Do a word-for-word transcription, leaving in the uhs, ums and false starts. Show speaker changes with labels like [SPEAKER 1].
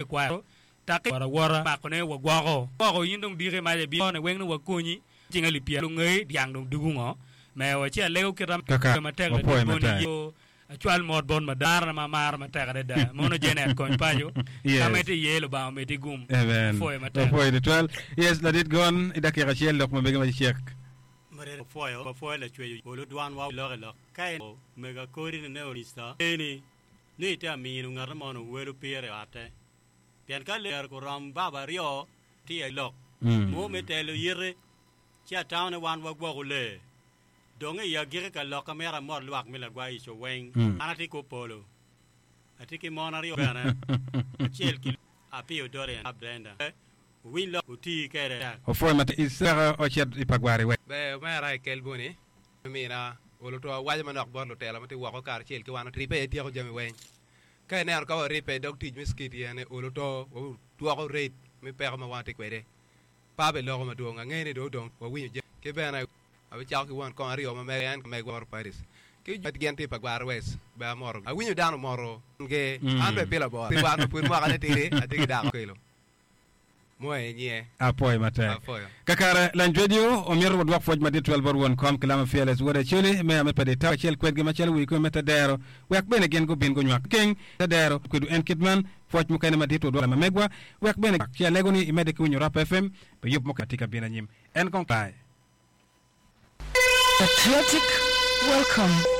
[SPEAKER 1] kwaro taki wora makone wagwoko gwoko in dong diki mac ebi ne weng ni wakonyi cinga lipye lungei dyang dong dugu ngo mewa ci alego kita
[SPEAKER 2] Kaka,
[SPEAKER 1] matek
[SPEAKER 2] wapwoyo
[SPEAKER 1] ladit boni
[SPEAKER 2] matek.
[SPEAKER 1] yo acwal mot bot madara ma maro matek adada mono Janet kony paco
[SPEAKER 2] Yes.
[SPEAKER 1] ka ma itye iye Lubanga omedi gum
[SPEAKER 2] Amen.
[SPEAKER 1] apwoyo matek
[SPEAKER 2] Wapwoyo tutwal. Yes, ladit gon i dakika acel lok ma mege ma cek.
[SPEAKER 3] Marere opwoyo wapwoyo lacweyo olo dwanwa lok i lok ka en mega kodi ni ne onista eni ni ite amino ngati mo no welo pire i otte pien ka ler kurom baba aryo tye i lok
[SPEAKER 2] Mm.
[SPEAKER 3] mo me telo yite ci atamo ni wan wagwoko lee dong i agiki ka lok amito amot lwak me lagwa ico weng
[SPEAKER 2] Mm.
[SPEAKER 3] an atye ko polo atye ki mon aryo bene acel ki apiyo Dorian Brenda owiny lok otii kede
[SPEAKER 2] Opwoyo matek. Isaka ocit i pagwari wek.
[SPEAKER 4] Ber omera i kel boni mina olo to awaco manok bot lutelo ma tye woko kacel ki wan oribbe ityeko jami weng ka ineno ka waribbe i dog tic me skiti ene olo to wadwoko rate me peko ma wan tye kwede pa be loko madwong angeyo ni dong odong wawinyo jami ki bene abicako ki won kong aryo ma mere en megwa moro Paris ki gin tye pa Gwara West be amoro awinyo dano moro ge an be pila bot wan pud mwaka ne tidi atye ki dako kelo mo e nyie
[SPEAKER 2] Apwoyo matek.
[SPEAKER 4] apwoyo
[SPEAKER 2] Kakare Lanj Radio omyero wadwok pwoc madit twel bot won kom ki lama Fearless Wod Acholi meya me Padi Taw acel kwedgi macalo wi kwe me tedero wek bene gin gubin gunywak keng tedero kwedu en kit man pwoc mukene madit wadwok lama megwa wek bene ci alego ni imedde ki winyo Rap F M pi yub mukene tye ka bino anyim en kong bye.
[SPEAKER 5] Patriotic welcome.